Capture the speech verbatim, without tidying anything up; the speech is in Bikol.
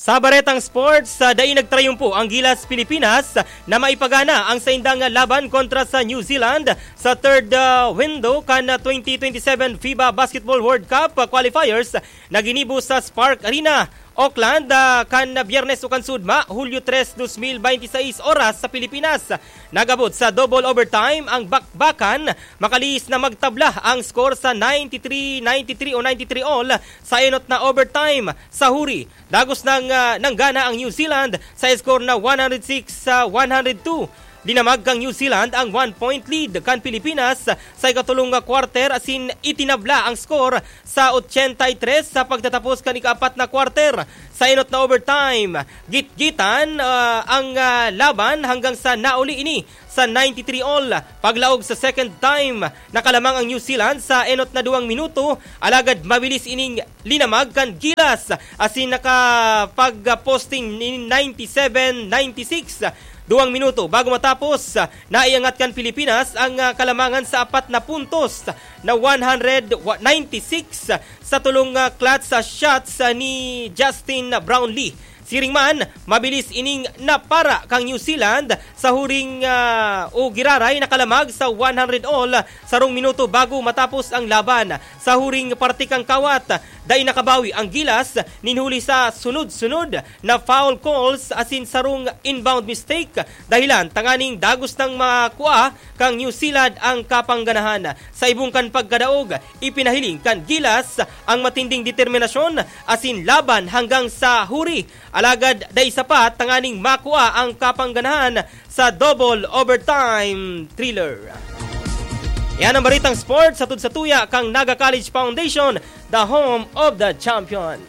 Sa baretang sports, sa dai nagtrayumpo ang Gilas Pilipinas na maipagana ang saindang laban kontra sa New Zealand sa third, ah, window kan, ah, twenty twenty-seven FIBA Basketball World Cup, ah, qualifiers na ginibo sa Spark Arena, Auckland, ah, kan Biyernes o kan Sudma, Hulyo tres, dos mil binte seis, oras sa Pilipinas. Nag-abot sa double overtime ang bakbakan, makalihis na magtabla ang score sa ninety-three ninety-three o ninety-three all sa enot na overtime. Sa huri, dagos nang, ah, nanggana ang New Zealand sa score na one hundred six sa one hundred two. Dinamag kan New Zealand ang one-point lead kan Pilipinas sa ikatulong nga quarter asin itinabla ang score sa ochenta y tres sa pagtatapos kan ikaapat na quarter. Sa enot na overtime, gitgitan, ah, ang, ah, laban hanggang sa nauli ini sa ninety-three all. Paglaog sa second time, nakalamang ang New Zealand sa enot na duwang minuto, alagad mabilis ining linamag kan Gilas asin nakapag-posting nin ninety-seven ninety-six. Duwang minuto bago matapos, naiangat kan Pilipinas ang, ah, kalamangan sa apat na puntos na one hundred ninety-six sa tulong, ah, clutch, ah, shots, ah, ni Justin Brownlee. Siring man, mabilis ining napara kang New Zealand sa huring, ah, o giraray nakalamag sa one hundred all, sarong minuto bago matapos ang laban. Sa huring parte kan kawat, dai nakabawi ang Gilas nin huli sa sunod-sunod na foul calls asin sarong inbound mistake, dahilan tanganing dagos nang makua kang New Zealand ang kapangganahan. Sa ibong kan pagkadaog, ipinahiling kan Gilas ang matinding determinasyon asin laban hanggang sa huri. Alagad dai sapat tanganing makua ang kapangganahan sa double overtime thriller. Yan ang baritang sports hatod sa tuya kang Naga College Foundation, the home of the champion.